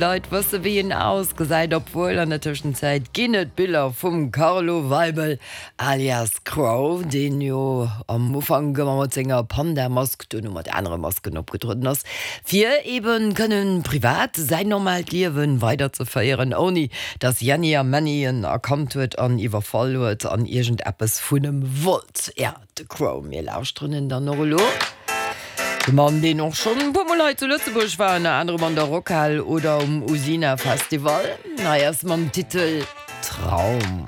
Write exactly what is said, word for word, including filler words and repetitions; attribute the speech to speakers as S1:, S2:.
S1: Leit wësse wéi en ausgesäit, obwuel an der Tëschenzäit ginn et Biller vum Carlo Weibel alias Crow, deen jo am Ufank ëmmer mat senger Panda-Mask, duerno mat anere Masken opgetrueden ass, fir eben kënnen privat säin normaalt Liewen weiderzeféieren, ouni dass Jänni a Männi en erkannt huet an iwwerfall huet an iergendeppes vun em wollt. Ja, de Crow, mir lauschteren en dann och elo. De Mann, deen och schonn e puer Mol hei zu Lëtzebuerg war, ënner anerem an der Rockhal oder um Usina Festival. Hei ass mam Titel Traum.